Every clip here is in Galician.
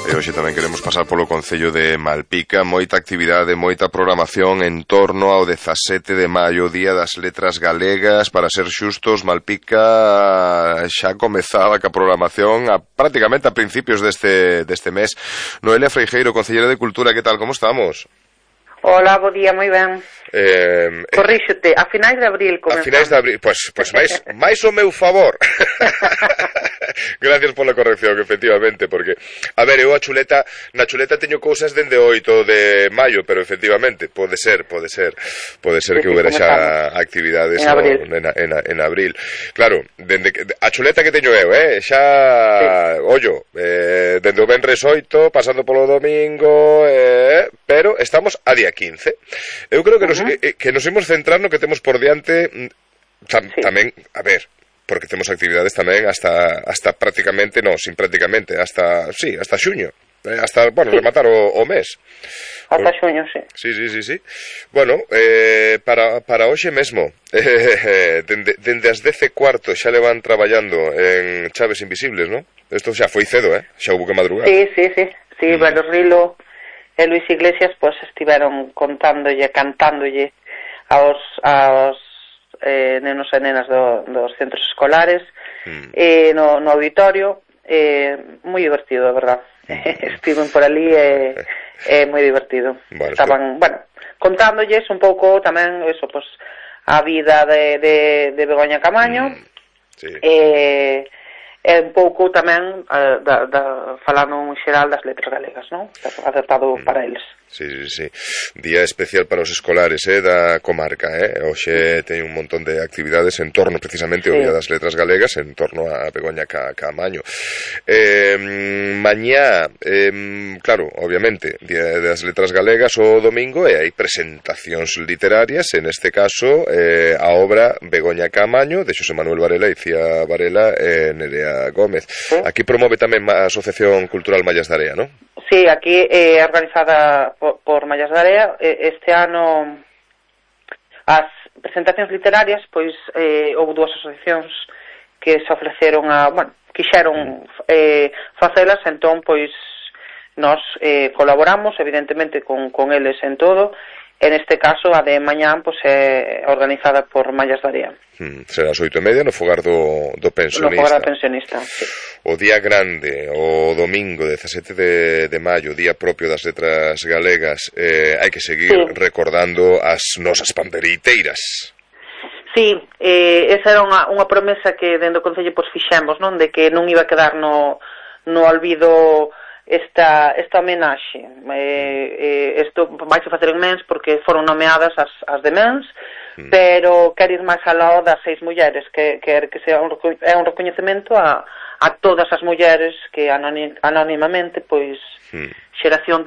E hoxe tamén queremos pasar polo concello de Malpica, moita actividade, moita programación en torno ao 17 de maio, Día das Letras Galegas. Para ser xustos, Malpica xa comezaba ca programación prácticamente a principios deste mes. Noelia Freijeiro, concelleira de Cultura, que tal, como estamos? Hola, bo día, moi ben. Corríxote, a finais de abril comenzamos. A finais de abril, pois máis o meu favor. Gracias pola corrección, efectivamente, porque, a ver, eu na chuleta teño cousas dende 8 de maio, pero efectivamente, pode ser que houbera xa actividades en abril. Claro, a chuleta que teño eu, xa, ollo, dende o venres 8, pasando polo domingo, pero estamos a día 15. Eu creo que nos imos centrar no que temos por diante tamén, a ver, porque temos actividades tamén hasta prácticamente, hasta xuño, hasta, bueno, rematar o mes. Hasta xuño, sí. Sí. Bueno, para hoxe mesmo, dende as 10:15 xa levan traballando en Chaves Invisibles, non? Isto xa foi cedo, xa houve que madrugar. Sí, Velo Rilo e Luis Iglesias pois estiveron contándolle, cantándolle aos nenos e nenas dos centros escolares no auditorio, moi divertido, a verdad. Estiven por ali e moi divertido. Estaban, contándolles un pouco tamén eso, pois, a vida de Begoña Camaño, e un pouco tamén falando en xeral das letras galegas, non? Acertado para eles. Sí. Día especial para os escolares da comarca, Hoxe teñen un montón de actividades en torno precisamente ao Día das Letras Galegas, en torno a Begoña Camaño. Mañá, claro, obviamente, Día das Letras Galegas o domingo, e hai presentacións literarias, en este caso a obra Begoña Camaño de Xosé Manuel Varela, Icía Varela e Nerea Gómez. Aquí promove tamén a Asociación Cultural Mallas de Area, non? Sí, aquí é organizada por Mallas de Area. Este ano as presentacións literarias, pois houve dúas asociacións que se ofreceron quixeron facelas, entón pois nós colaboramos evidentemente con eles en todo. En este caso, a de mañán pois é organizada por Mallas de Area. Será as 8:30 no fogar do pensionista. No fogar do pensionista, sí. O día grande, o domingo 17 de maio, día propio das letras galegas, hai que seguir recordando as nosas panderiteiras. Sí, esa era unha promesa que dentro do Concello pois fixemos, non? De que non iba a quedar no olvido esta homenaxe. Isto vai se facer en Mens porque foron nomeadas as de Mens, pero quero ir máis aló das 6 mulleres, que sea un recoñecemento a todas as mulleres que anónimamente pois xeración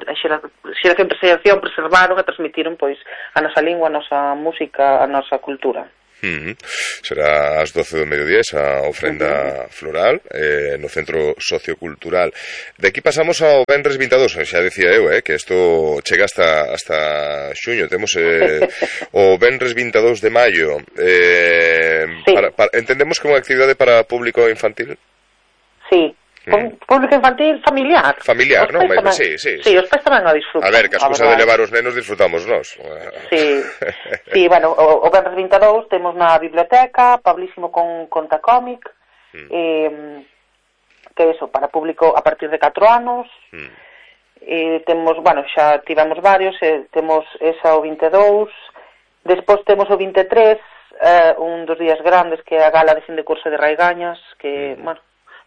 preservaron e transmitiron pois a nosa lingua, a nosa música, a nosa cultura. Será ás 12 do mediodía esa ofrenda floral no Centro Sociocultural. De aquí pasamos ao venres 22, xa decía eu, que isto chega hasta xuño. Temos o venres 22 de maio. Entendemos que é unha actividade para público infantil? Sí. Público infantil familiar. Familiar, non? Sí. Sí, os pais tamén a disfrutan. A ver, que as cousas de levar os nenos disfrutamos nós. Sí, bueno, o venres 22 temos na biblioteca Pablísimo con conta cómic, que é eso, para público a partir de 4 anos. Temos, xa tivemos varios, temos esa o 22, despois temos o 23, un dos días grandes que é a gala de fin de curso de Raigañas, que,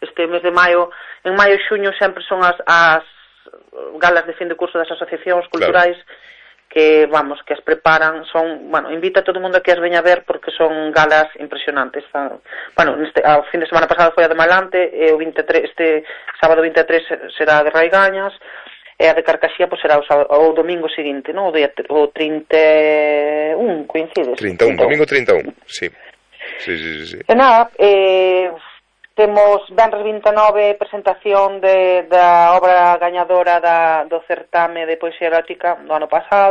este mes de maio, en maio e xuño sempre son as galas de fin de curso das asociacións culturais, que as preparan, invita a todo o mundo a que as veña a ver porque son galas impresionantes. O fin de semana pasado foi a de Malante, e este sábado 23 será a de Raigañas, e a de Carcaxía será o domingo seguinte, non? O 31, coincides? 31, domingo 31, sí. E nada, temos venres 29 presentación da obra gañadora do certame de poesía erótica do ano pasado,